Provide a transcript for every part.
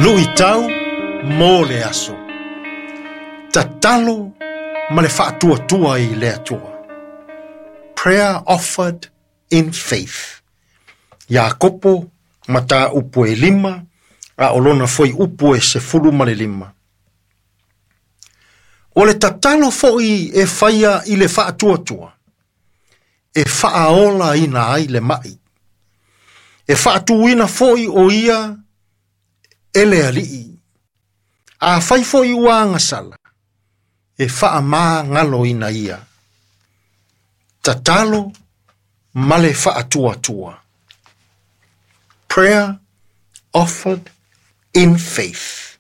Luitau mo le aso. Tatalo ma le faatuatua i le Atua. Prayer offered in faith. Iakopo, mataupu e 5, a o lona fuaiupu e 15. O le tatalo foi e faia i le faatuatua, e faaolaina ai le mai. E faatuina foi o ia e le Alii. Afai foi ua agasala, e faamagaloina ia. Tatalo ma le faatuatua. Prayer offered in faith.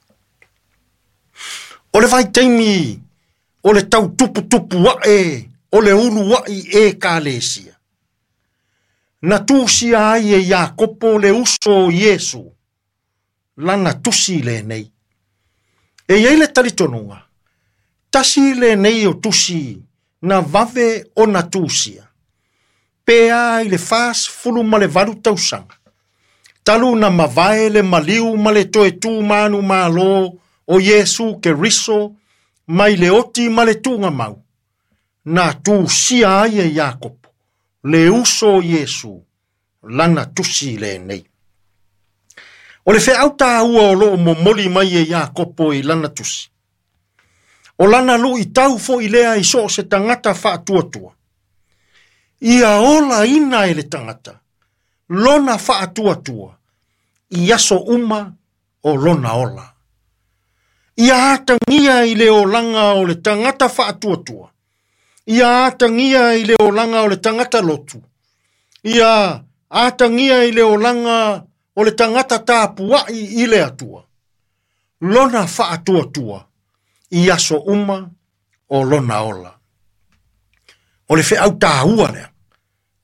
O le vaitaimi o le tautuputupu ae o le uluai Ekalesia. Na tusia ai e Iakopo le uso o Iesu, lana tusi lenei. E i ai le talitonuga, tasi lenei o tusi na vave ona tusia. Pe a i le 48 tausaga. Talu na mavae le maliu ma le toe tu manu malo o Iesu Keriso mai le oti ma le tuugamau. Na tusia ai e Iakopo le uso o Iesu lana tusi lenei. O le feau taua o loo momoli mai e Iakopo i lana tusi. O lana luitau foi lea i so o se tagata faatuatua. Ia olaina e le tagata lona faatuatua i aso uma o lona ola. Ia atagia i le olaga o le tagata faatuatua. Ia atagia i le olaga o le tagata lotu. Ia atagia i le olaga o le tagata tapuai i le Atua. Lona faatuatua i aso uma o lona ola. O le feau taua lea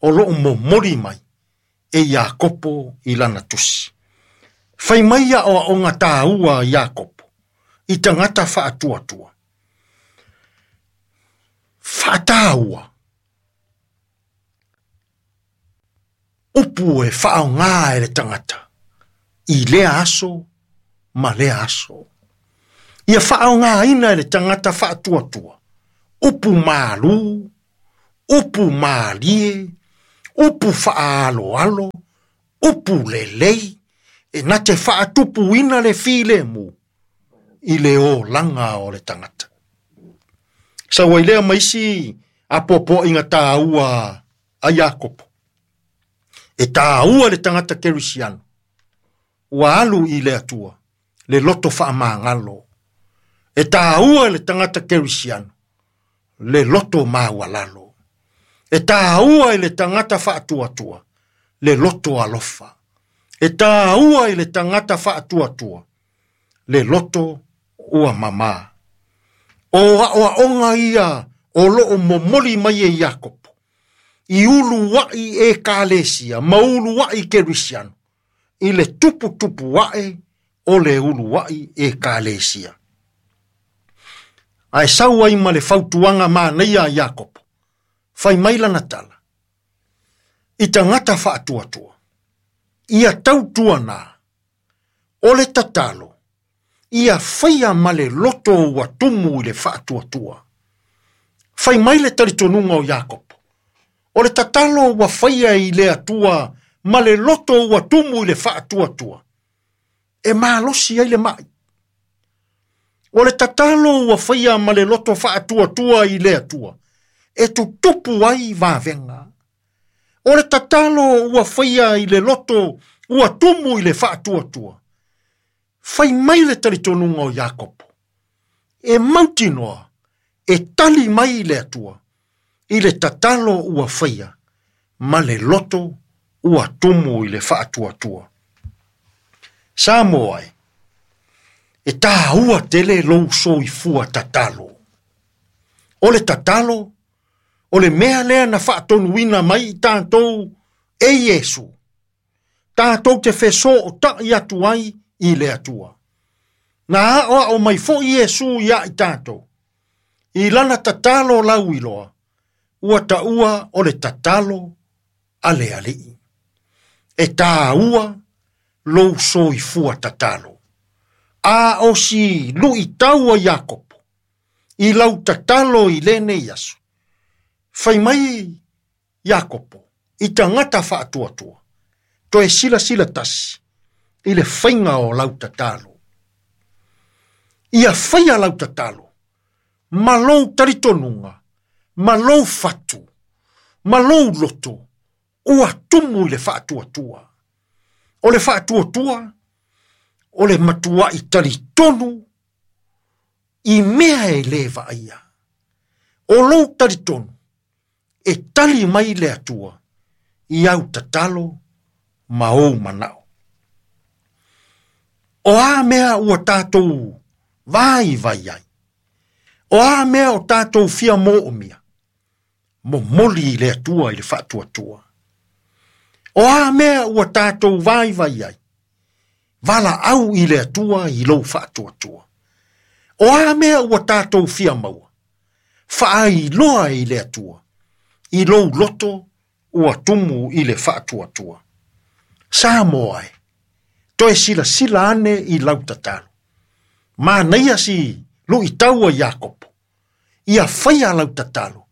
o loo momoli mai e Iakopo i lana tusi. Fai mai ia o taua Iakopo i tagata faatuatua. Faataua. Upu e faaaoga e le tagata i lea aso ma lea aso. Ia faaaogaina e le tagata faatuatua. Upu malu, upu malie, upu faaaloalo, upu lelei, e na te faatupuina le filemu i le olaga o le tagata. Sau ai lea ma isi apoapoaiga taua a Iakopo. E taua le tagata kerisiano, ua alu i le Atua, le loto faamagalo. E taua le tagata kerisiano, le loto maualalo. E taua i le tagata faatuatua, le loto alofa. E taua i le tagata faatuatua, le loto ua mamā. O aoaoga ia o loo momoli mai e Iakopo, i uluai Ekalesia ma uluai kerisiano, i le tuputupu ae o le uluai Ekalesia. Ae sau ai ma le fautuaga manaia a Iakopo, fai mai lana tala, i tagata faatuatua, ia tautuana, o le tatalo, ia faia ma le loto ua tumu i le faatuatua. Fai mai le talitonuga o Iakopo, o le tatalo ua faia i le Atua ma le loto ua tumu i le faatuatua, e malosi ai le mai. O le tatalo ua faia ma le loto faatuatua i le Atua, e tutupu ai vavega. O le tatalo ua faia i le loto ua tumu i le faatuatua. Fai mai le talitonuga o Iakopo, e mautinoa, e tali mai le Atua, i le tatalo ua faia, ma le loto ua tumu i le faatuatua. Samoa e, e taua tele lou soifua tatalo. O le tatalo, o le mea lea na faatonuina mai i tatou e Iesu. Tatou te fesootai atu ai i le Atua. Na aoao mai foi Iesu ia i tatou. I lana tatalo lauiloa, ua taua o le tatalo a le Alii. E taua lou soifua tatalo. A o si luʻitau a Iakopo i lau tatalo i lenei aso. Fai mai Iakopo i tagata faatuatua, toe silasila tasi i le faiga o lau tatalo. Ia faia lau tatalo ma lou talitonuga, ma lou fatu, ma lou loto, ua tumu i le faatuatua. O le faatuatua, o le matuaʻi talitonu i mea e lē vaaia. O lou talitonu, e tali mai le Atua i au tatalo ma ou manao. O a mea ua tatou vaivai ai? O a mea o tatou fia moomia? Momoli i le Atua i le faatuatua. O a mea ua tatou vaivai ai? Valaau i le Atua i lou faatuatua. O a mea ua tatou fia maua? Faailoa i le Atua i lou loto ua tumu i le faatuatua. Samoa e, toe silasila ane i lau tatalo. Manaia si luʻitau a Iakopo, ia faia lau tatalo,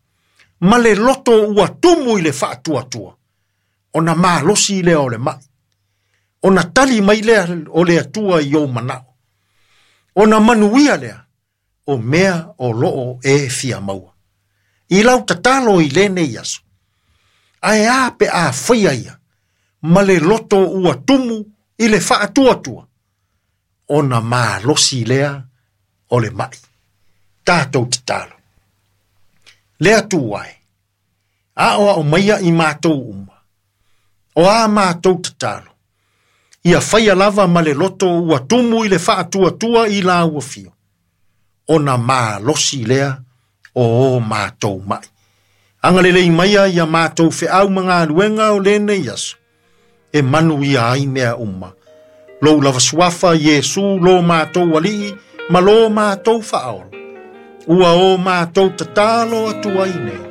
ma le loto ua tumu i le faatuatua, ona malosi lea o le mai, ona tali mai lea o le Atua i ou manao, ona manuia lea o mea o loo e fia maua. I lau tatalo i lenei aso, ae a pe a faia ia, ma le loto ua tumu i le faatuatua, ona malosi lea o le mai. Tatou tatalo. Le Atua e, aoao maia i matou uma, o a matou tatalo, ia faia lava ma le loto ua tumu i le faatuatua i lau afio, ona malosi lea o o matou mai. Agalelei maia ia matou feau ma galuega o lenei aso, e manuia ai mea uma. Lou lava suafa Iesu lo matou Alii ma lo matou Faaola. Ua o matou tatalo atu ai nei.